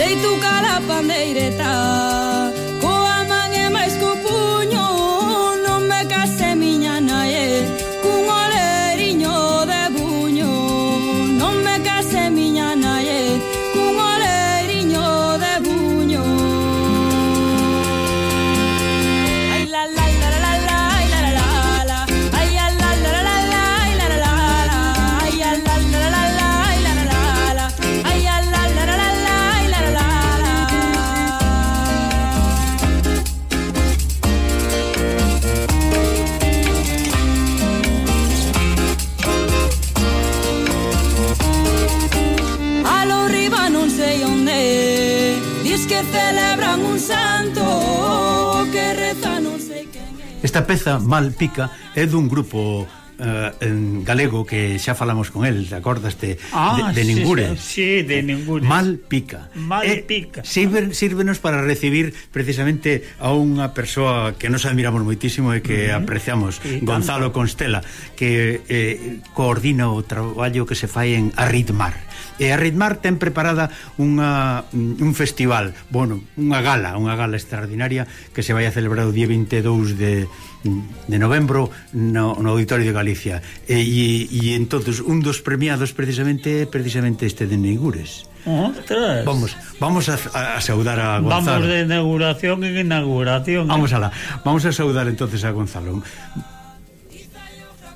sei tu cala pandeireta, coa man e máis co puño, non me case miña nai, cun oleriño de buño, non me case miña nai, cun oleriño de buño. Ai la la la la la, ai la la la, ai la la la la la, ai la la la, ai la la la la, ai la la la, ai la la la la la, ai la la la. Alo riba non sei onde, dis que celebran un santo, que reza non sei quen é. Esta peza, Mal Pica, é dun grupo en galego que xa falamos con el, te acordaste? De Ningures. Sí, de Ningures. Mal Pica. Mal Pica. Sírvenos para recibir precisamente a unha persoa que nos admiramos moitísimo e que apreciamos, Gonzalo Constela, que coordina o traballo que se fai en Arritmar. E Arritmar ten preparada un festival, bueno, unha gala extraordinaria que se vai a celebrar o día 22 de novembro no Auditorio de Galicia. E entonces un dos premiados precisamente este de Ningures. Ostras. Vamos a saudar a Gonzalo. Vamos de inauguración en inauguración. Vamos a saudar entonces a Gonzalo.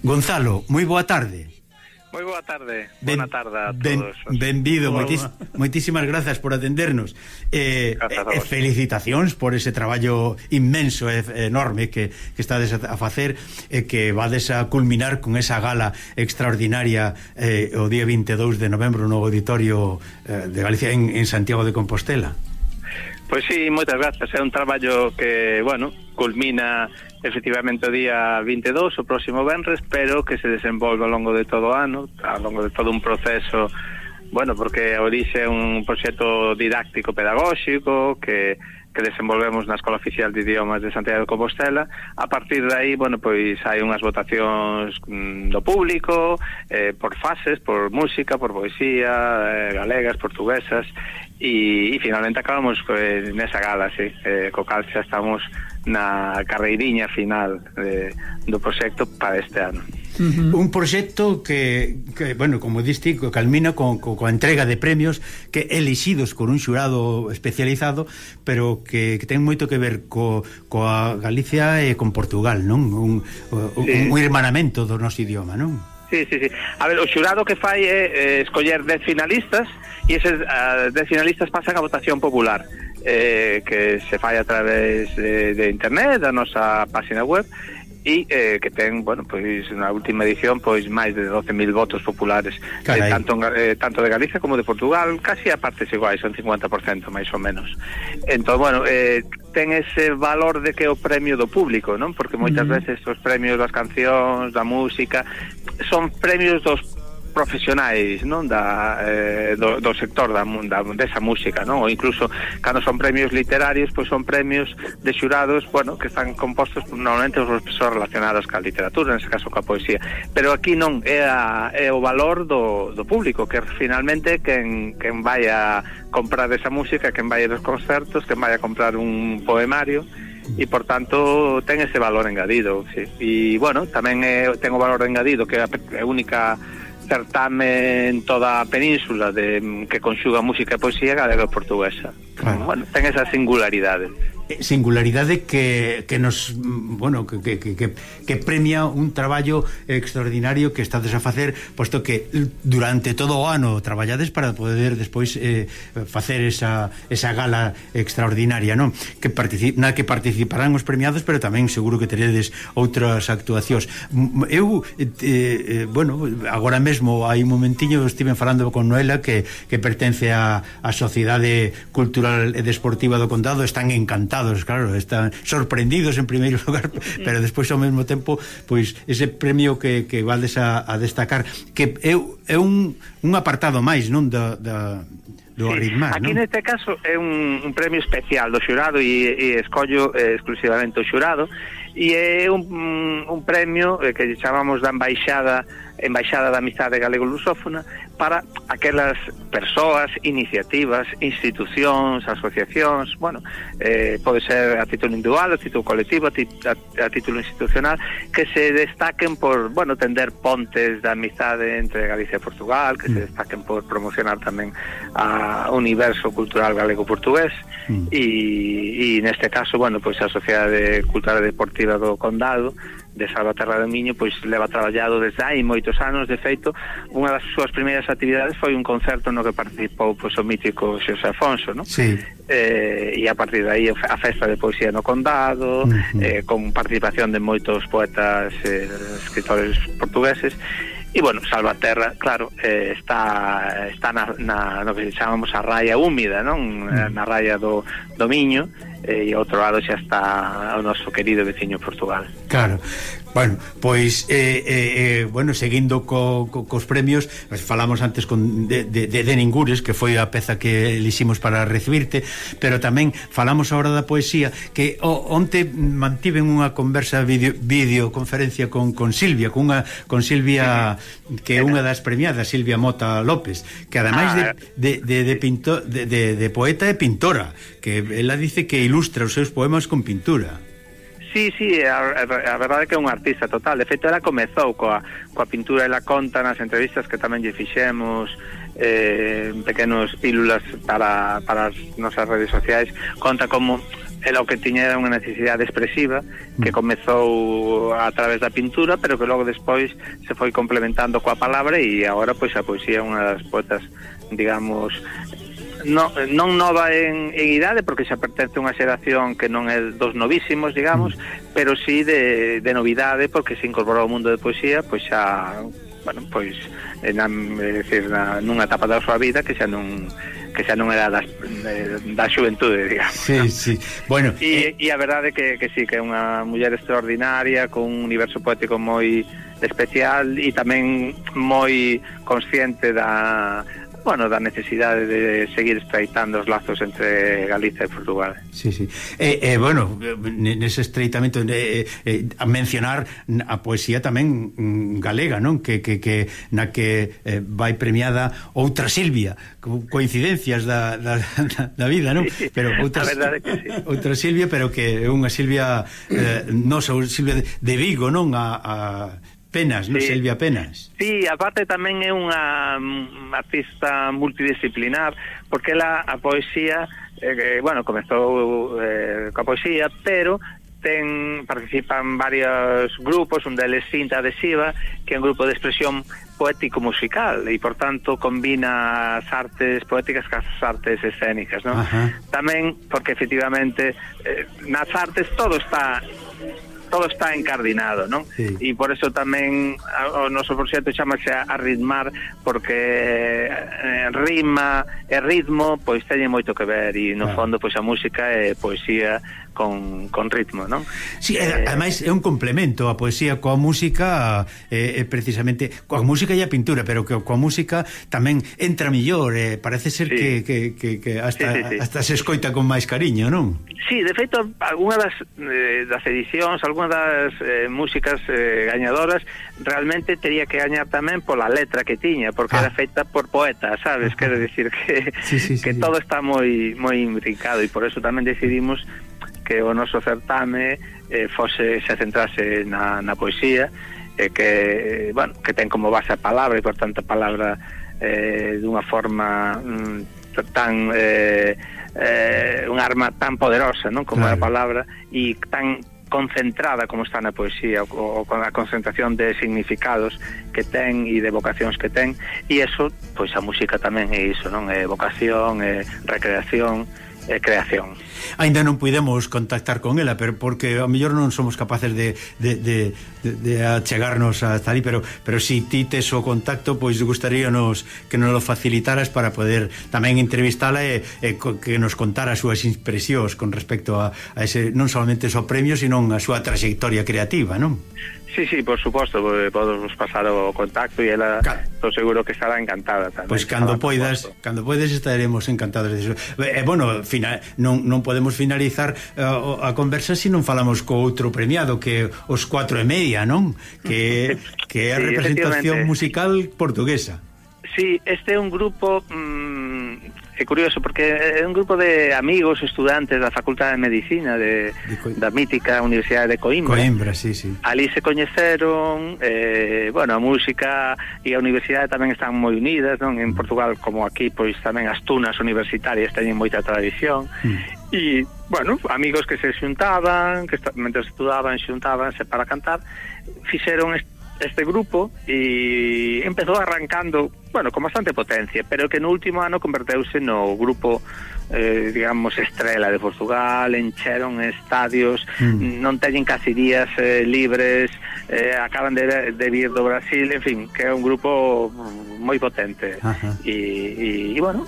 Gonzalo, moi boa tarde. Moi boa tarde, boa tarde a todos. Benvido, moitísimas grazas por atendernos. Felicitacións por ese traballo inmenso e enorme que estades a facer e que vades a culminar con esa gala extraordinaria o día 22 de novembro no Auditorio de Galicia en Santiago de Compostela. Pois sí, moitas grazas. É un traballo que, bueno, culmina efectivamente o día 22, o próximo venres, pero que se desenvolve ao longo de todo o ano, ao longo de todo un proceso, bueno, porque a orixe é un proxecto didáctico pedagóxico que desenvolvemos na Escola Oficial de Idiomas de Santiago de Compostela. A partir de aí, bueno, pois hai unhas votacións do público, por fases, por música, por poesía, galegas, portuguesas, e finalmente acabamos nesa gala, sí, co cal xa estamos na carreiriña final do proxecto para este ano. Un proxecto que bueno, como diste, culmina coa entrega de premios que elixidos por un xurado especializado, pero que ten moito que ver coa Galicia e con Portugal, non? Un hermanamento do noso idioma, non? Sí. A ver, o xurado que fai é escoller 10 finalistas e eses 10 finalistas pasan a votación popular, que se fai a través de internet, da nosa página web, e que ten, bueno, pois na última edición pois máis de 12.000 votos populares, tanto de Galicia como de Portugal, casi a partes iguais, son 50% máis ou menos. Entón, bueno, ten ese valor de que é o premio do público, non? Porque moitas veces os premios das cancións, da música, son premios dos profesionais, non, do sector desa música, non? Ou incluso cando son premios literarios, pois son premios de xurados, bueno, que están compostos normalmente por persoas relacionadas ca literatura, nese caso ca poesía, pero aquí non, é o valor do público, que finalmente quen vai a comprar esa música, quen vai a los concertos, quen vai a comprar un poemario, e por tanto ten ese valor engadido, sí. E bueno, tamén ten o valor engadido que é a única certame en toda a península que conxuga música e poesía galega e portuguesa. Claro. Bueno, ten esa singularidade que nos, bueno, que premia un traballo extraordinario que estades a facer, posto que durante todo o ano traballades para poder despois facer esa gala extraordinaria, non? Na que participarán os premiados, pero tamén seguro que teredes outras actuacións. Eu bueno, agora mesmo hai un momentiño estiven falando con Noela que pertence á Sociedade Cultural e Desportiva do Condado, están encantados, claro, están sorprendidos en primeiro lugar, pero despois ao mesmo tempo, pois ese premio que vades a destacar, que é un apartado máis, non, do Arritmar, aquí non? Neste caso é un premio especial do xurado e escollo exclusivamente o xurado, e é un premio que chamamos da Embaixada Embaixada da Amizade Galego-Lusófona para aquelas persoas, iniciativas, institucións, asociacións, bueno, pode ser a título individual, a título colectivo, a título institucional, que se destaquen por, bueno, tender pontes da amizade entre Galicia e Portugal, que se destaquen por promocionar tamén a universo cultural galego-portugués, e neste caso, bueno, pois a Sociedade Cultural e Deportiva do Condado de Salvaterra do Miño pois leva traballado desde hai moitos anos. De feito, unha das súas primeiras actividades foi un concerto no que participou pois o mítico Xosé Afonso, ¿no? Sí. E a partir de aí a festa de poesía no Condado, con participación de moitos poetas escritores portugueses. E, bueno, Salvaterra, claro, está no que chamamos a raia húmida, non? Na raia do Miño, e ao outro lado xa está o noso querido veciño Portugal. Claro. Bueno, pois bueno, seguindo cos premios, falamos antes de Ningures, que foi a peza que eliximos para recibirte, pero tamén falamos agora da poesía, que onte mantiven unha conversa videoconferencia con Silvia, con Silvia, que é unha das premiadas, Silvia Mota López, que ademais de poeta é pintora, que ela dice que ilustra os seus poemas con pintura. Sí, a verdade é que é un artista total. De feito, ela comezou coa pintura, ela conta nas entrevistas que tamén lle fixemos pequenos pílulas para as nosas redes sociais, conta como ela o que tiña era unha necesidade expresiva que comezou a través da pintura, pero que logo despois se foi complementando coa palabra, e agora pois a poesía é unha das poetas, digamos, non nova en idade, porque xa pertence a unha xeración que non é dos novísimos, digamos, pero sí de novidade, porque se incorporou ao mundo de poesía, pois xa, bueno, pois nunha etapa da súa vida que xa non era da xuventude, digamos. Sí. Bueno, e a verdade que sí, que é unha muller extraordinaria, con un universo poético moi especial e tamén moi consciente da necesidade de seguir estreitando os lazos entre Galicia e Portugal. Sí. Bueno, nese estreitamento a mencionar a poesía tamén galega, non? Que na que vai premiada outra Silvia, coincidencias da vida, non? Pero outra, a verdade que sí. Outra Silvia, pero que é unha Silvia nosa, Silvia de Vigo, non? A Penas, non? Silvia Penas. Sí, aparte tamén é unha artista multidisciplinar, porque ela a poesía, bueno, comezou coa poesía, pero participan varios grupos, un deles Cinta Adhesiva, que é un grupo de expresión poético-musical, e por tanto combina as artes poéticas cas artes escénicas, non? Tamén porque efectivamente nas artes todo está encardinado, non? Sí. E por eso tamén o noso proxecto chamase a ritmar, porque rima e ritmo pois teñen moito que ver, e no fondo pois a música é poesía con ritmo, non? Sí, ademais é un complemento a poesía coa música, precisamente coa música e a pintura, pero que coa música tamén entra mellor, parece ser que hasta se escoita con máis cariño, non? Sí, de feito, algunha das edicións, algunha das músicas gañadoras realmente tería que gañar tamén pola letra que tiña, porque era feita por poetas, sabes? Quero dicir que todo está moi imbricado, e por eso tamén decidimos que o noso certame se centrase na poesía, que ten como base a palabra, e por tanto a palabra dunha forma tan un arma tan poderosa, non? Como a palabra, e tan concentrada como está na poesía, o con a concentración de significados que ten e de vocacións que ten, e eso, pois a música tamén é iso, non? É vocación, é recreación, creación. Ainda non puidemos contactar con ela, pero porque ao mellor non somos capaces de achegarnos hasta ali, pero si ti tes o contacto, pois gustaríanos que nos lo facilitaras para poder tamén entrevistala e que nos contara as súas impresións con respecto a ese, non solamente o premio, sino a súa trayectoria creativa, non? Sí, por suposto, podemos pasar o contacto e ela estou seguro que estará encantada tamén. Pois cando poidas estaremos encantados de iso. Bueno, non podemos finalizar a conversa se non falamos co outro premiado, que os 4:30, non? Que é a representación musical portuguesa. Sí, este é un grupo é curioso porque é un grupo de amigos estudantes da Facultade de Medicina da mítica Universidade de Coimbra. Coimbra, sí. Ali se coñeceron, bueno, a música e a universidade tamén están moi unidas, non? En Portugal, como aquí, pois tamén as tunas universitarias teñen moita tradición. E, bueno, amigos que se xuntaban, que mentre estudaban xuntábanse para cantar, fixeron este grupo e empezou arrancando, bueno, con bastante potencia, pero que no último ano converteuse no grupo digamos estrela de Portugal, encheron estadios, non teñen casi días libres, acaban de vir do Brasil, en fin, que é un grupo moi potente. E bueno,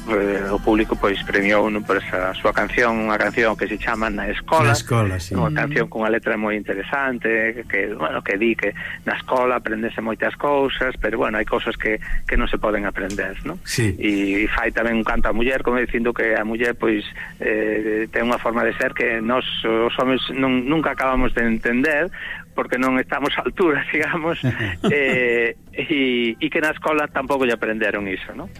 o público pois premiou por esa súa canción, unha canción que se chama Na Escola, sí. Unha canción con unha letra moi interesante, que bueno, que di que na escola aprendese moitas cousas, pero bueno, hai cousas que non se poden aprender, non? Sí. E fai tamén un canto á muller, como dicindo que a muller pois ten unha forma de ser que nós os homens nunca acabamos de entender, porque non estamos a altura, digamos, e que na escola tampouco lle aprenderon iso, non?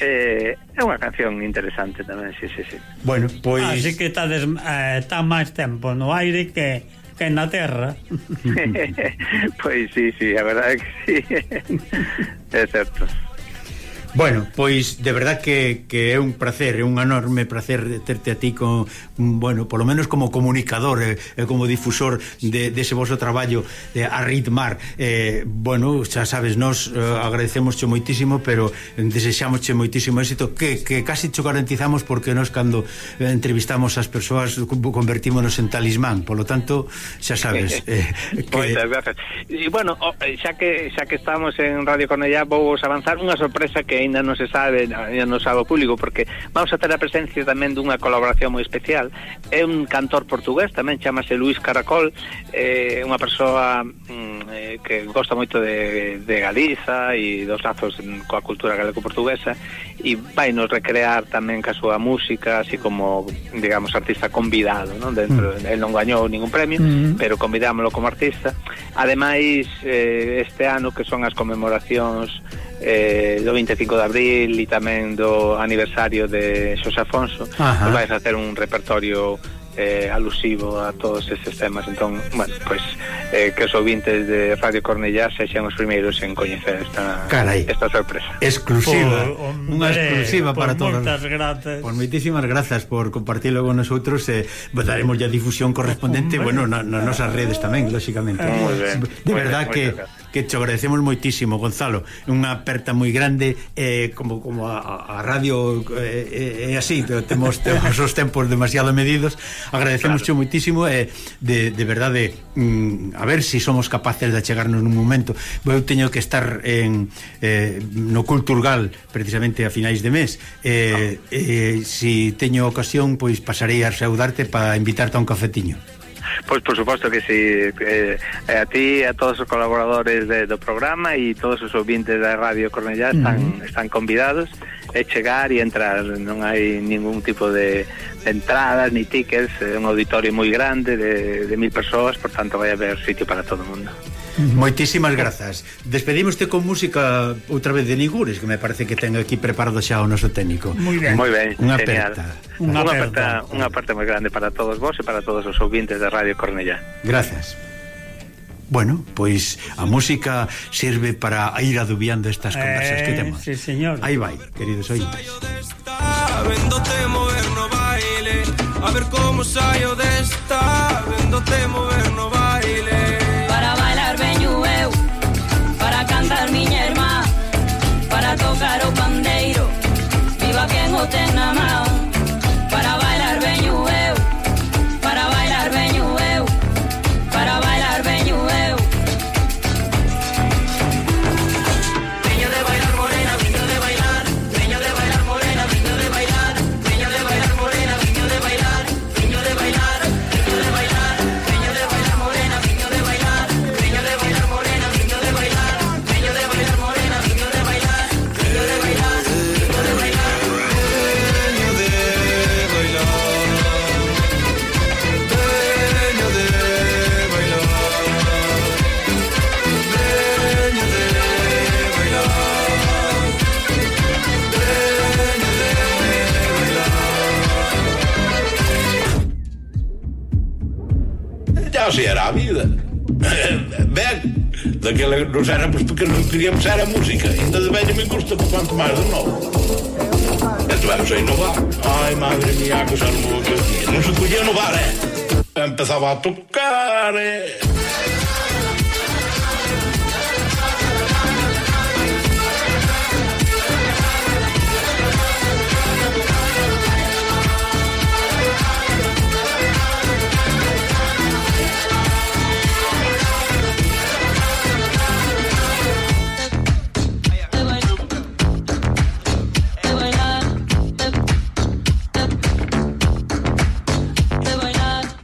É unha canción interesante tamén, sí. Bueno, pois... Así que está máis tempo no aire que na terra. Pois sí, a verdade é que sí. É certo. Bueno, pois de verdad que é un placer, é un enorme placer terte a ti con, bueno, polo menos como comunicador e como difusor dese vosso traballo a ritmar. Bueno, xa sabes, nos agradecemosche moitísimo, pero desexámosche moitísimo éxito, que casi cho garantizamos, porque nos cando entrevistamos as persoas convertímonos en talismán, polo tanto, xa sabes. Moitas gracias. E bueno, xa que estamos en Radio Cornellá, vou avanzar unha sorpresa que ainda non se sabe, ainda non sabe o público, porque vamos a ter a presencia tamén dunha colaboración moi especial. É un cantor portugués, tamén chamase Luís Caracol, unha persoa que gosta moito de Galiza e dos lazos coa cultura galego-portuguesa, e vai nos recrear tamén ca súa música, así como, digamos, artista convidado, non? Dentro, el non gañou ningún premio, pero convidámoslo como artista. Ademais, este ano, que son as conmemoracións do 25 de abril e tamén do aniversario de Xosé Afonso, pues vais a hacer un repertorio alusivo a todos estes temas. Entón, bueno, pues que os ouvintes de Radio Cornellá sexan os primeiros en coñecer esta sorpresa exclusiva, unha exclusiva para todos. Moitas grazas. Por moitísimas grazas por compartirlo con nosotros, daremos ya difusión correspondente, bueno, nas nosas redes tamén, lógicamente. De verdad que te agradecemos moitísimo, Gonzalo, unha aperta moi grande, como a radio é así, temos os tempos demasiado medidos. Agradecemos moitísimo, de verdade, a ver se somos capaces de achegarnos nun momento. Eu teño que estar no Culturgal precisamente a finais de mes, se teño ocasión, pois pasarei a saudarte para invitarte a un cafetiño. Pois por suposto que sí, a ti, a todos os colaboradores do programa e todos os ouvintes da Radio Cornellá están convidados a chegar e entrar. Non hai ningún tipo de entradas ni tickets, é un auditorio moi grande de 1000 persoas, por tanto vai haber sitio para todo o mundo. Moitísimas grazas. Despedímoste con música outra vez de Nigures, que me parece que ten aquí preparado xa o noso técnico. Moi ben. Unha aperta. Unha parte moi grande para todos vos e para todos os ouvintes da Radio Cornellá. Grazas. Bueno, pois a música sirve para ir adubiando estas conversas que temos. Sí, señor. Aí vai, queridos oyentes. Véndote mover no baile, a ver como saio desta. Véndote mover no baile. Para bailar veño eu, para cantar miña irmá, para tocar o pandeiro, viva quen o ten na man. Para bailar veño eu, para bailar veño eu, para bailar veño eu. Veño de bailar morena, veño de bailar, veño de bailar morena, veño de bailar, veño de bailar morena, veño de bailar, veño de bailar, veño de bailar, veño de bailar morena, veño de bailar, veño de bailar. así era a vida. Ben, daquela nos éramos pequenos, queríamos era a música, ainda de velho me gusta quanto máis de novo. Então vamos a inovar. Ai, madre mía, que cosa non se podía inovar, Empezaba a tocar,